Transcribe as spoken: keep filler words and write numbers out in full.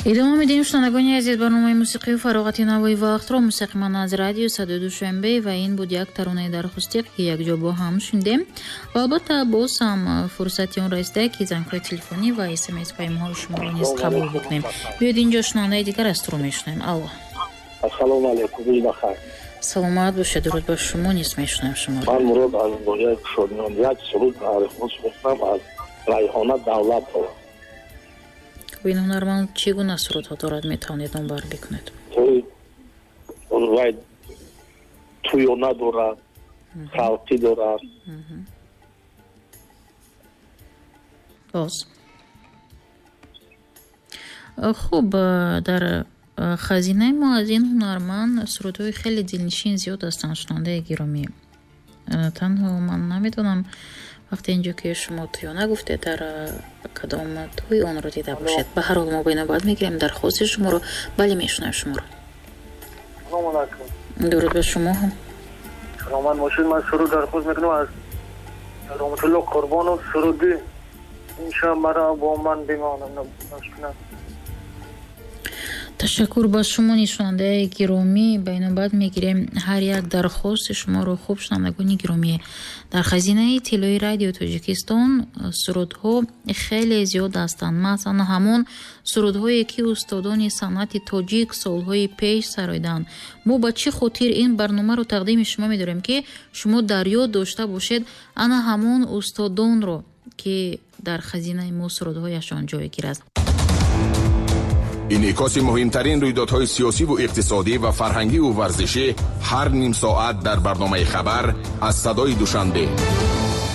Идома медиҳем, шунавандагони азиз, барномаи мусиқию фароғати Навои вақтро мустақиман аз радио Садои Душанбе, ва ин буд як таронаи дархостӣ, ки якҷо бо ҳам шунидем. Ва албатта боз ҳам фурсати он расида, ки зангҳои телефонӣ ва смс паёмҳои шуморо низ қабул бикунем. Биёед, инҷо шунавандаи дигар аз туру мешунавем. Алло. Ассалому алайкум, рӯз бахайр. Саломат бошед, дуруд ба шумо, низ мешунавем шуморо. Ман Мурод аз ноҳияи Кушодиён, як суруд дархост мекунам аз Райҳона Давлатова. Ин ҳунарманд чӣ гуна сурудҳо дорад, метавонед номбар бикунед? Вай туёна дорад, халқӣ дорад. Боз хуб, дар хазинаи мо аз ин ҳунарманд сурудҳои хеле дилнишин зиёд ҳастанд, шунавандаи гиромӣ. Танҳо ман намедонам, вақте инҷо ки шумо туёна гуфтед, дар кадом тӯй онро дида бошед. Ба ҳар ҳол мо ба навбат мегирем дархости шуморо. Бале, мешунавем шуморо. Салому алайкум. Дуруд ба шумо ҳам. Саломат бошед. Ман суруд дархост мекунам аз Раҳматулло Қурбонов, суруди ин шаб маро бо ман бимонам нашунам. Ташаккур ба шумо, нишонандаи гиромӣ. Ба инобат мегирем ҳар як дархости шуморо. Хуб, шунавандагони гиромӣ, дар хазинаи тиллои радио Тоҷикистон сурудҳо хеле зиёд ҳастанд. Масалан, ҳамон сурудҳое ки устодони санъати тоҷик солҳои пеш сароиданд. Мо ба чӣ хотир ин барномаро тақдими шумо медорем, ки шумо дар ёд дошта бошед ана ҳамон устодонро, ки дар хазинаи мо сурудҳояшон ҷойгир аст. Инъикоси муҳимтарин рӯйдодҳои сиёсиву иқтисодӣ ва фарҳангиву варзишӣ ҳар ним соат дар барномаи хабар аз Садои Душанбе.